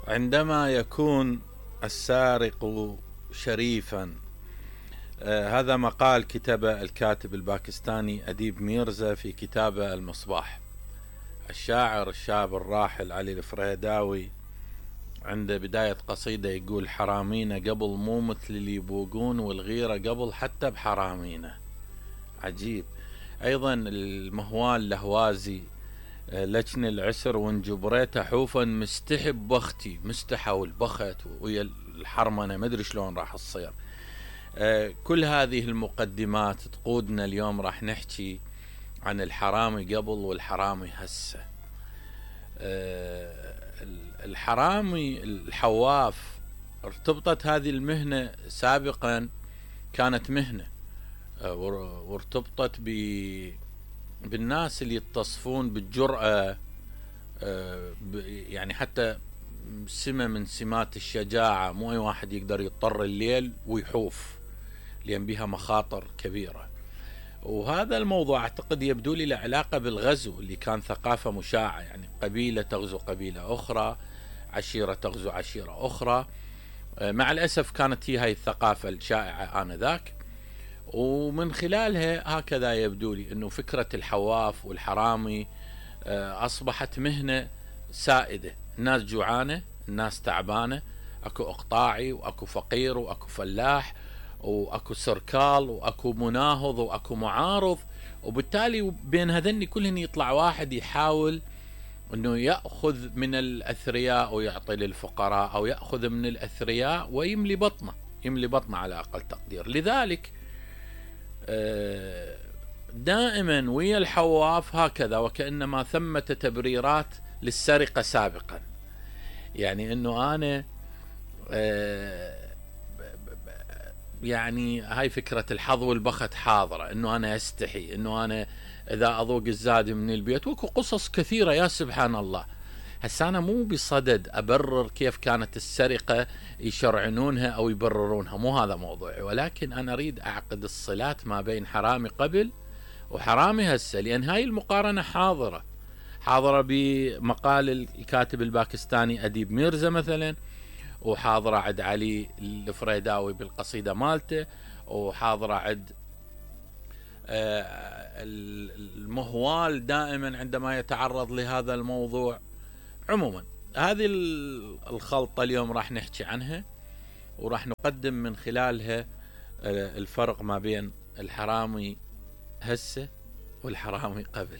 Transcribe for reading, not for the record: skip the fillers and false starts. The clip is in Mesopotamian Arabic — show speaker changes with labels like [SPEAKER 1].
[SPEAKER 1] عندما يكون السارق شريفا. هذا مقال كتبه الكاتب الباكستاني أديب ميرزا في كتابه المصباح. الشاعر الشاب الراحل علي الفريداوي عند بداية قصيدة يقول: حرامينا قبل مو مثل اللي يبوقون، والغيرة قبل حتى بحرامينا. عجيب. أيضا المهوال لهوازي: لجن العسر وان جبريته حوفا مستحب بختي. مستحى والبخت ويا الحرمنة ما ادري شلون راح تصير. كل هذه المقدمات تقودنا اليوم راح نحكي عن الحرامي قبل والحرامي هسه. الحرامي الحواف ارتبطت هذه المهنة سابقا، كانت مهنة وارتبطت بالناس اللي يتصفون بالجرأة، يعني حتى سمة من سمات الشجاعة. مو أي واحد يقدر يضطر الليل ويحوف، لأن بها مخاطر كبيرة. وهذا الموضوع أعتقد يبدو لي له علاقة بالغزو اللي كان ثقافة مشاعة، يعني قبيلة تغزو قبيلة أخرى، عشيرة تغزو عشيرة أخرى. مع الأسف كانت هي هاي الثقافة الشائعة آنذاك، ومن خلالها هكذا يبدو لي أنه فكرة الحواف والحرامي أصبحت مهنة سائدة. الناس جوعانة، الناس تعبانة، أكو إقطاعي وأكو فقير وأكو فلاح وأكو سركال وأكو مناهض وأكو معارض، وبالتالي بين هذني كلهن يطلع واحد يحاول أنه يأخذ من الأثرياء ويعطي للفقراء، أو يأخذ من الأثرياء ويملي بطنه، يملي بطنه على أقل تقدير. لذلك دائما ويا الحواف هكذا، وكأنما ثمة تبريرات للسرقة سابقا. يعني أنه أنا يعني هاي فكرة الحظ والبخت حاضرة، أنه أنا أستحي أنه أنا إذا أذوق الزاد من البيت، وكو قصص كثيرة يا سبحان الله. هسا أنا مو بصدد أبرر كيف كانت السرقة يشرعنونها أو يبررونها، مو هذا موضوعي، ولكن أنا أريد أعقد الصلات ما بين حرامي قبل وحرامي هسه، لأن هاي المقارنة حاضرة بمقال الكاتب الباكستاني أديب ميرزا مثلا، وحاضرة عند علي الفريداوي بالقصيدة مالته، وحاضرة عند المهوال دائما عندما يتعرض لهذا الموضوع. عموما هذه الخلطة اليوم راح نحكي عنها، وراح نقدم من خلالها الفرق ما بين الحرامي هسه والحرامي قبل.